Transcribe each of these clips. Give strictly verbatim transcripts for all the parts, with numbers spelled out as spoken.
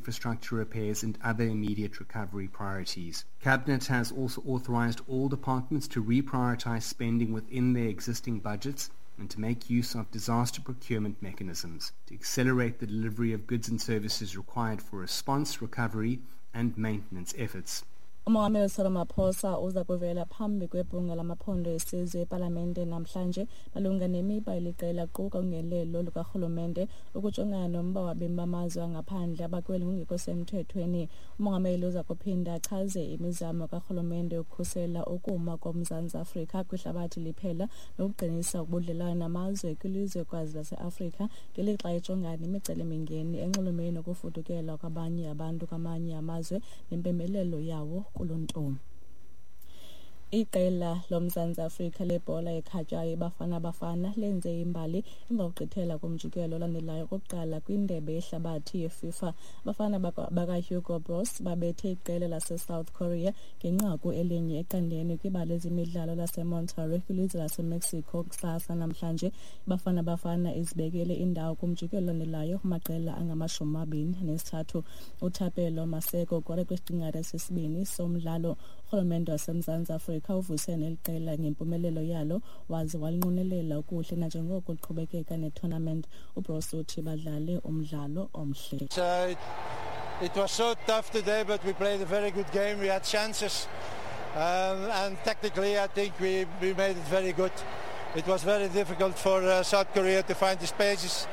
infrastructure repairs and other immediate recovery priorities. Cabinet has also authorized all departments to reprioritize spending within their existing budgets and to make use of disaster procurement mechanisms to accelerate the delivery of goods and services required for response, recovery and maintenance efforts. Umongameli Cyril Ramaphosa uza kuvela phambi kwebhunga lamaphondo esizwe epalamente namhlanje malunga nemiba eliqela quka ungenelelo lukarhulumente ukujongana nomba wabemi bamazwe angaphandle abakweli ngokungekho semthethweni. Umongameli uza kuphinda achaze imizamo karhulumente yokukhusela ukuma koMzantsi Afrika kwihlabathi liphela nokuqinisa ubudlelwane namazwe kwilizwekazi laseAfrika ngelixa ejongana nemicelimingeni enxulumene nokufudukela kwabanye abantu kwamanye amazwe nempembelelo yawo kuluntu. Iqela loMzantsi Afrika lebhola ekhatywayo iBafana Bafana lenze imbali emva kokugqithela kumjikelo olandelayo okokuqala kwindebe yehlabathi yeFIFA. Abafana bakaHugo Broos babethe iqela laseSouth Korea ngenqaku elinye eqandeni kwibala lezemidlalo laseMonterrey kwilizwe laseMexico kusasa namhlanje. IBafana Bafana izibekele indawo kumjikelo olandelayo kumaqela angamashumi amabini anesithathu. UThapelo Maseko ukore kwisiqingatha sesibini somdlalo. Urhulumente waseMzantsi Afrika uvuse neli qela ngempumelelo yalo waze walinqwenelela okuhle nanjengoko liqhubekeka netournament. UBroos uthi badlale umdlalo omhle. Uh, it, it was so tough today, but we played a very good game. We had chances, um, and tactically I think we, we made it very good. It was very difficult for uh, South Korea to find the spaces.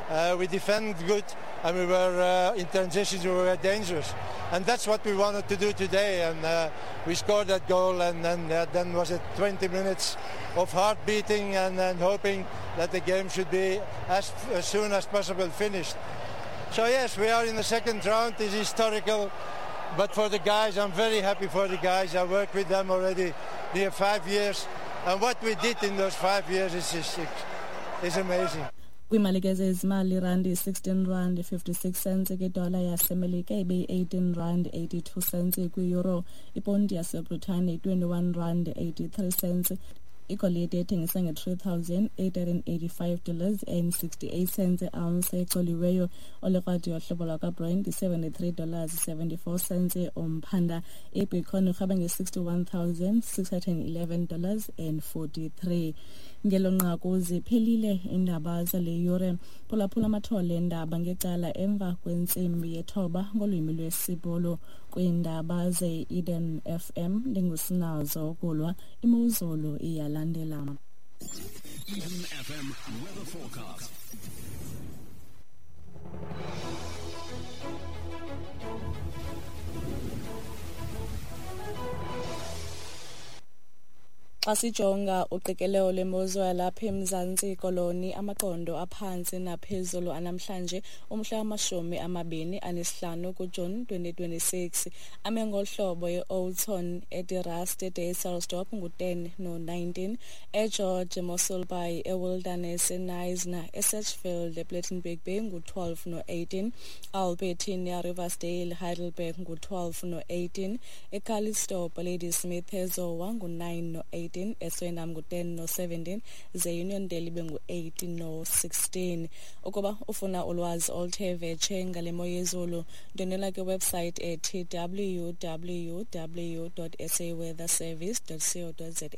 Uh, we defended good, and we were uh, in transitions, we were dangerous. And that's what we wanted to do today, and uh, we scored that goal, and then, uh, then was it twenty minutes of heart beating and, and hoping that the game should be as, as soon as possible finished. So yes, we are in the second round. It's historical, but for the guys, I'm very happy for the guys. I worked with them already near five years, and what we did in those five years is, is, is amazing. Kwimali ke zezimali, irandi sixteen rand fifty-six cents kwidola yaseMelika, ibeyi-eighteen rand eighty-two cents kwi-euro, iponti yaseBritane twenty-one rand eighty-three cents. Igolide ethengisa nge-three thousand eight hundred eighty-five dollars and sixty-eight cents ounce ecoliweyo. Olekrwada yohlobo lwakwaBrent i-seventy-three dollars seventy-four cents umphanda. Ibitcoin irhaba nge-sixty-one thousand six hundred eleven dollars and forty-three. Ngelo nqaku ziphelile iindaba zale yure. Phulaphula amathole eendaba ngecala emva kwentsimbi yethoba ngolwimi lwesiBhulu. Kwiindaba ze-Eden F M ndingusinazo kulwa imozulu iyalandela. Eden F M weather forecast. Xa sijonga uqikelelo lwemozulu yalapha eMzantsi Koloni, amaqondo aphantsi naphezulu anamhlanje umhla wamashumi amabini anesihlanu kuJuni twenty twenty-six ame ngolu hlobo: e-Oudtshoorn, eDe-Rust, eDysselsdorp ngu-ten no nineteen, eGeorge, eMossel Bay, eWilderness, eKnysna, eSedgefield, ePlettenberg Bay ngu-twelve no eighteen, Albertinia, Riversdale, Heidelberg ngu-twelve no eighteen, eCalitzdorp, Ladysmith, eZowa ngu-nine no eighteen, eSwellendam ngu-ten no seventeen, ze Uniondale ibe ngu-eight no sixteen. Ukuba ufuna ulwazi oluthe vetshe ngale mo yezulu, ndwendwela kwiwebsite ethi w w w dot s a weather service dot co dot za.